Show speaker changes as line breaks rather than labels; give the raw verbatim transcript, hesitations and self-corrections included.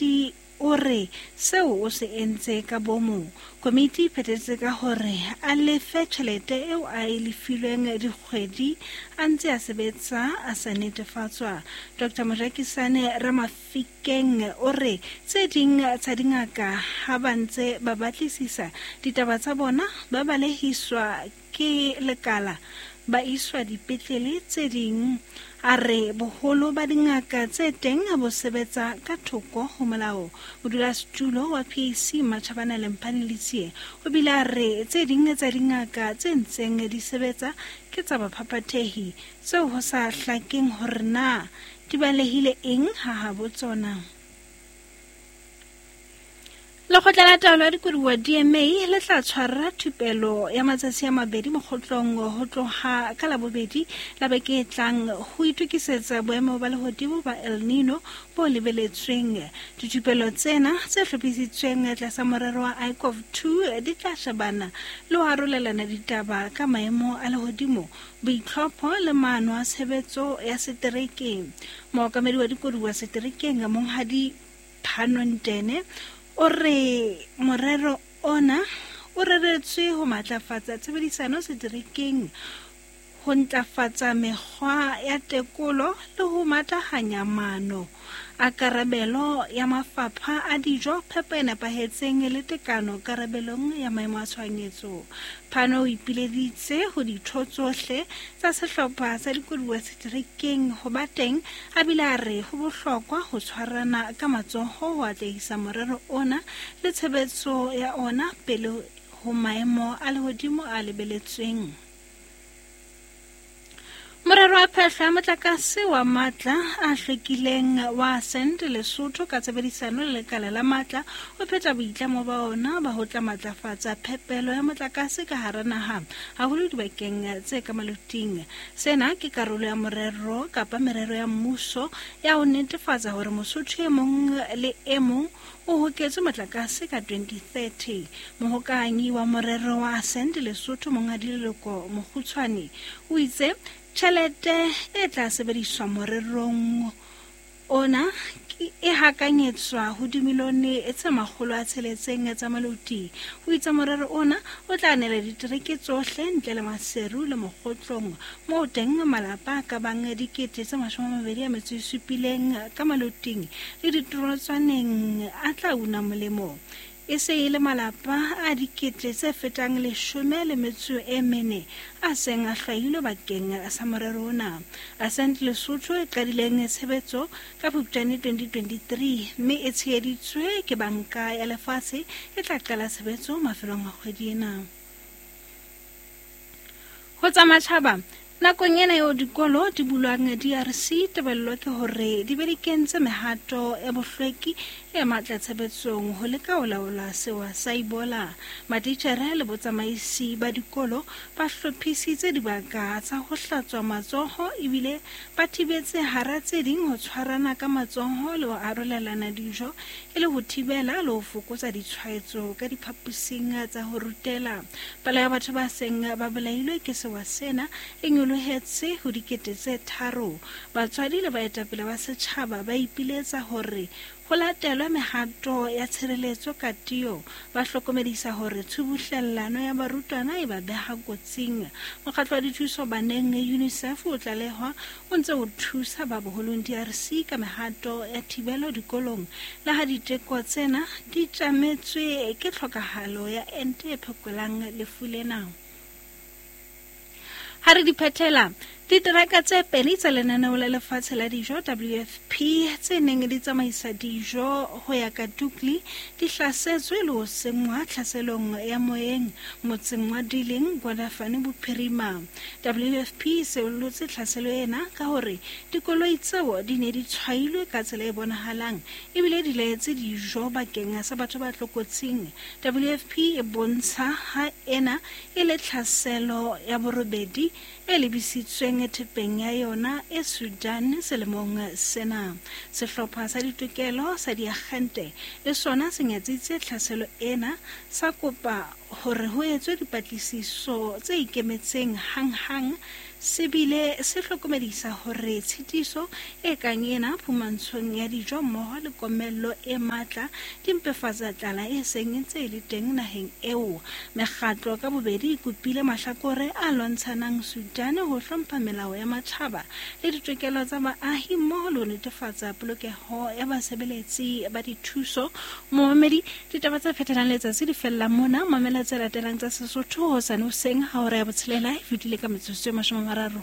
komiti o re seo o se entse ka bomo. Komiti e phethetse ka hore a lefe tjhelete eo a e lefilweng dikgwedi a ntse a sebetsa a sa netefatswa. Doctor Mojakisane Ramafikeng o re tse ding tsa dingaka ha ba ntse ba batlisisa ditaba tsa bona ba balehiswa ke lekala ba iswa dipetlele tse ding. A re boholo ba dingaka tse teng bo sebetsa ka thoko ho molao. Modulasetulo wa P A C Matjhabana Lemphane Letsie o bile a re tse ding tsa dingaka tse ntseng di sebetsa ke tsa baphaphathehi tseo ho sa hlakeng hore na di balehile eng ha habo tsona. Lekgotla la Taolo ya Dikoduwa D M A le tla tshwara thupelo ya matsatsi a mabedi mokgotlong ho tloha ka Labobedi la beke e tlang ho itokisetsa boemo ba lehodimo ba El Nino bo lebeletsweng. Dithupelo tsena tse hlophisitsweng tlasa morero wa I C O V two di tla shebana le ho arolelana ditaba ka maemo a lehodimo, boitlhopho le maano a tshebetso ya seterekeng. Mookamedi wa dikoduwa seterekeng Monghadi Phanontene o re morero ona o reretswe ho matlafatsa tshebedisano seterekeng, ho ntlafatsa mekgwa ya tekolo le ho matahanya maano a karabelo ya mafapha a dijo, phepo e nepahetseng le tekano karabelong ya maemo a tshohanyetso. Phano o ipileditse ho ditho tsohle tsa sehlopha sa dikoduwa seterekeng ho ba teng, a bile a re ho bohlokwa ho tshwarana ka matsoho ho atlehisa morero ona le tshebetso ya ona pele ho maemo a lehodimo a lebeletsweng. Morero wa phehlo ya motlakase wa matla a hlwekileng wa Ascent Lesotho ka tshebedisano le lekala la matla o phetha boitlamo ba ona ba ho tla matlafatsa phepelo ya motlakase ka hara naha, haholo dibakeng tse ka maloting. Sena ke karolo ya morero kapa merero ya mmuso ya ho netefatsa hore Mosotho e mong le e mong o hoketswe motlakase ka twenty thirty. Mohokahanyi wa morero wa Ascent Lesotho Monghadi Leloko Mokgutshwane o itse tjhelete e tla sebediswa morerong ona e hakanyetswa ho dimilione tse makgolo a tsheletseng tsa maloti. O itse morero ona o tla nela ditereke tsohle ntle le Maseru le Mokgotlong, moo teng malapa a ka bang dikete tse mashome a mabedi a metso e supileng ka maloting le ditorotswaneng a tla una molemo. E se e le malapa a dikete tse fetang leshome le metso e mene a seng a hlwailwe bakeng sa morero ona. Ascent Lesotho e qadileng tshebetso ka Phupjane twenty twenty-three mme e tsheheditswe ke Banka ya Lefatshe e tla qala tshebetso mafelong a kgwedi ena. Ho tsa matjhaba, nakong ena eo dikolo di bulwang D R C, tebello ke hore di be di kentse mehato ya bohlweki e matla tshebetsong ho leka ho laola sewa sa Ebola. Matitjhere le botsamaisi ba dikolo ba hlophisitse dibaka tsa ho hlatswa matsoho ebile ba thibetse hara tse ding ho tshwarana ka matsoho le ho arolelana dijo e le ho thibela le ho fokotsa ditshwaetso ka diphaposing tsa ho rutela. Palo ya batho ba seng ba bolailwe ke sewa sena e nyolohetse ho dikete tse tharo. Batswadi le baetapele ba setjhaba ba ipiletsa hore ho latelwe mehato ya tshireletso ka tiyo, ba hlokomedisa hore tshubuhlellano ya barutwana e ba beha kotsing. Mokgatlo wa dithuso baneng UNICEF o tlalehwa o ntse o thusa ba boholong D R C ka mehato ya thibelo dikolong, le ha diteko tsena di tjametswe ke tlhokahalo ya ente e phekolang lefu lena. Ha re di phethela, diteraka tse pedi tsa lenaneo la lefatshe la dijo W F P tse neng di tsamaisa dijo ho ya ka Dukli di hlasetswe le ho senngwa tlhaselong ya moyeng motseng wa Diling, Gwadafane Bophirima. W F P e seollotse tlhaselo ena ka hore dikoloi tseo di ne di tshwailwe ka tsela e bonahalang ebile di laetse dijo bakeng sa batho ba tlokotsing. W F P e bontsha ha ena e le tlhaselo ya borobedi e lebisitsweng thepeng ya yona e Sudan selemong sena. Sehlopha sa ditokelo sa diagente le sona se nyatsitse tlhaselo ena, sa kopa hore ho etswe dipatlisiso tse ikemetseng hanghang Se bile se hlokomedisa hore tshitiso e kang ena phumantshong ya dijo mmoho le komello e matla di mpefatsa tlala e seng e ntse e le teng naheng eo. Mekgatlo ka bobedi e kopile mahlakore a lwantshanang Sudan ho hlompha melao ya matjhaba le ditokelo tsa baahi mmoho le ho netefatsa polokeho ya basebeletsi ba dithuso. Momamedi, ditaba tse phethelang letsatsi di fella mona. Mamela tse latelang tsa Sesotho hosane hoseng ha hora ya botshelela e fetile ka metsotso e mashome a mararo.